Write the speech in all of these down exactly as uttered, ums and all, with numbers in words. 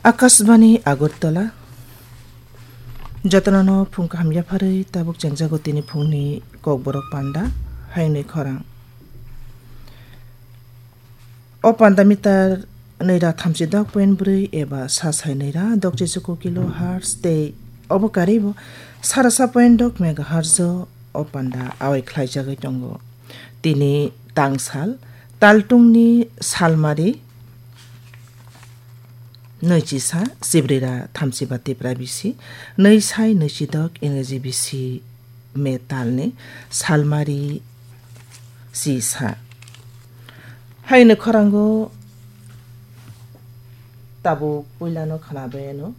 Akashbani Agartala, jotono no phung kaham yapharwi tabuk chengjago tini phungni kokborok panda, haini khorang. O panda meter nwi ra thamchi dok point bwrwi eba sa sai nwi ra dok chichuku kilohertz tei obo karibo sa ra sa point dok megahertz o o panda awai khlaijagwi tongo. Tini tangsal, taltungni salmari nwi chisa, chibrira thamchiba Tipra bisi, nwi sai nwi chidok Ingreji bisi me talni salmari chisa. Haino khorango tabuk puilano khwnabayano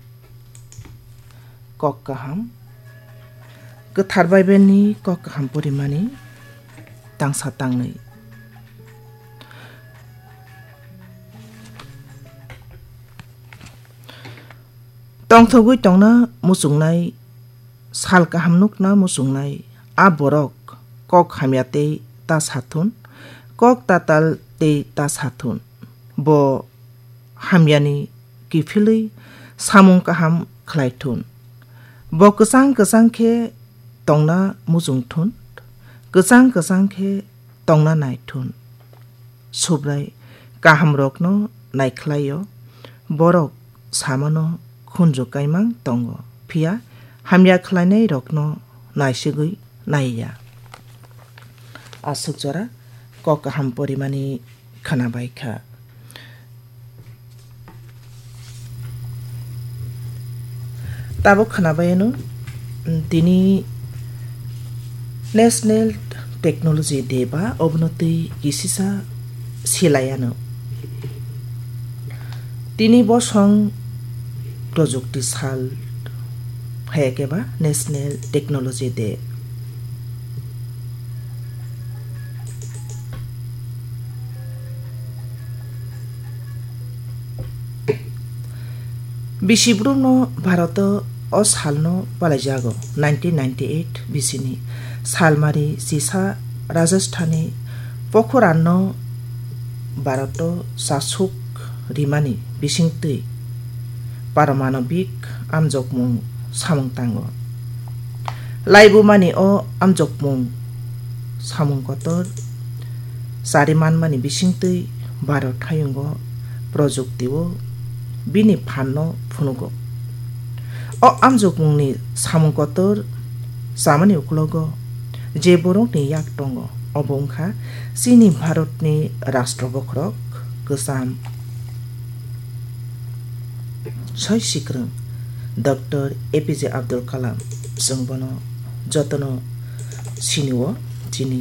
kok kaham. Kwthar Baibelni kok kaham porimani tangsa tangnwi. Tongthogwi tongna muchungnai, sal kaham nukna muchungnai, a borok kok hamya tei ta sathun, kok tatal tei ta sathun. Bo hamyani kiphilwi samung kaham khlai thun. Bo kwchang kwchang khe tongna muchung thun, kwchang kwchang khe tongna nai thun. Subrai kahamrokno naikhlaio, borok samano khunju kaimang tongo, phiya hamya khlainairokno naisigwi naiya. Aswk jora kok kaham porimani khwnabai kha. Tabuk khwnabai ano, tini National Technology Day ba obono twi kisisa silai ano. Tini bosong projukti sal phaiya khe ba National Technology Day. Bisi brumno Bharoto o salno palaijago nineteen ninety-eight bisini salmari chisa Rajasthani Pokhranno Bharoto chasuk rimani bisingtwi paramanobik amjokmung samung tango. Laibumani o amjokmung samung kotor chari manmani bisingtwi Bharat hayungo projukti o bini phanno phunugo. O amjokmungni samung kotor chamani uklogo je borokni yak tongo, obo wngkha chini Bharatni rashtra bokhorok kwcham soi sikrwng Doctor A P J Abdul Kalam. Chwng bono jotono sinio, chini